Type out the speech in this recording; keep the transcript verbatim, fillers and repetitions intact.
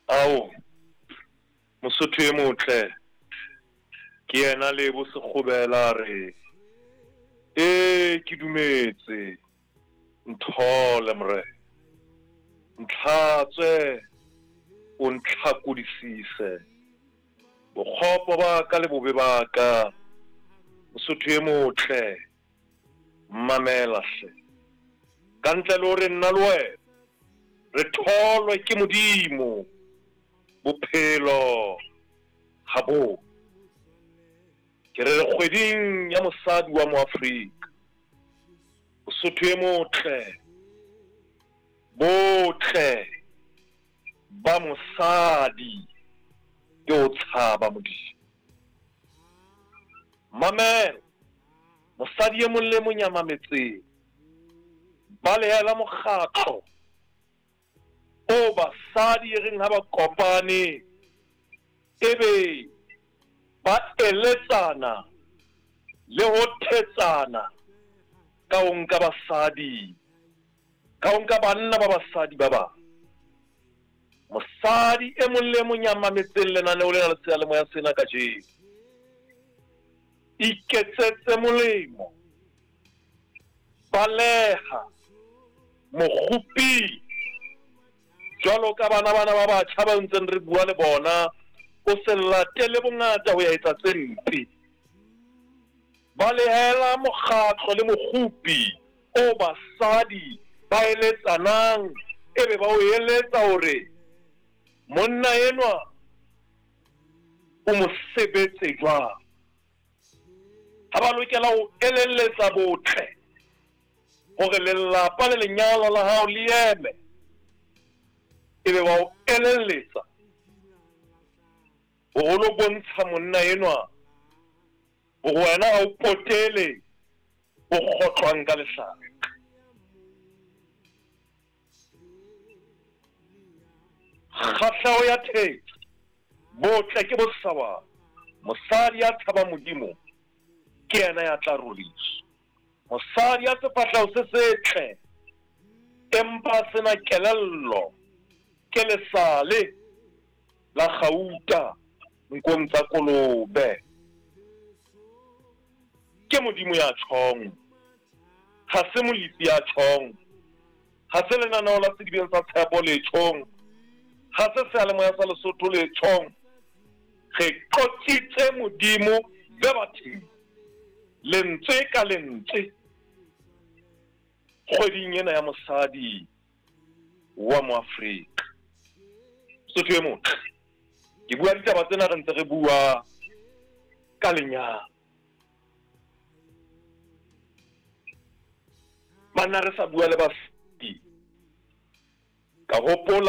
Ao, Mosotho e motle, ke yena Lebo Sekgobela a re, ee ke dumetse, nthole morena, ntlhatswe, o ntlhakodisise, bokgopo ba ka le bobe ba ka, Mosotho e motle, mamela hle. Ka ntle le hore nna le wena re tholwe ke Modimo, bophelo ha bo. Ke re re kgweding ya mosadi wa Moafrika, Mosotho e motle, botle ba mosadi ke o tshaba Modimo. Mamela, mosadi e mong le mong ya mametseng, balehela mokgatlo o basadi e reng ha ba kopane ebe ba eletsana le ho thetsana ka ho nka basadi, ka ho nka banna ba basadi ba bang. Mosadi e mong le mong ya mametseng lenaneo lena le seyalemoya sena kajeno, iketsetse molemo, baleha mokguping jwalo ka bana bana ba batjha ba ntseng re bua le bona, o se latele bongata ho ya etsa tse mpe. Balehela mokgatlo le mokgupi o basadi ba eletsanang, ebe ba o eletsa hore monna enwa o mo sebetse jwang. Ha ba lokela ho elelletsa botle hore lelapa le lenyalo la hao le eme, ebe ba o elelletsa hore o lo bontsha monna enwa hore wena ha o potele o kgotlwang ka lehlaka. Kgahleho ya thetso, botle ke bosawana. Mosadi ya tshaba Modimo ke yena ya tla roriswa. Mosadi ya sefahleho se setle empa sena kelello ke lesale la kgauta nkong tsa kolobe. Ke Modimo ya tjhong, ha se Molefi ya tjhong, ha se lenaneo la Sedibeng sa Tshepo le tjhong, ha se seyalemoya sa Lesotho le tjhong. Re qotsitse Modimo verbatim, lentswe ka lentswe, kgweding ena ya mosadi wa Moafrika. Mosotho e motle, ke bua ditaba tsena re ntse re bua ka lenyalo. Banna re sa bua le basadi, ka hopola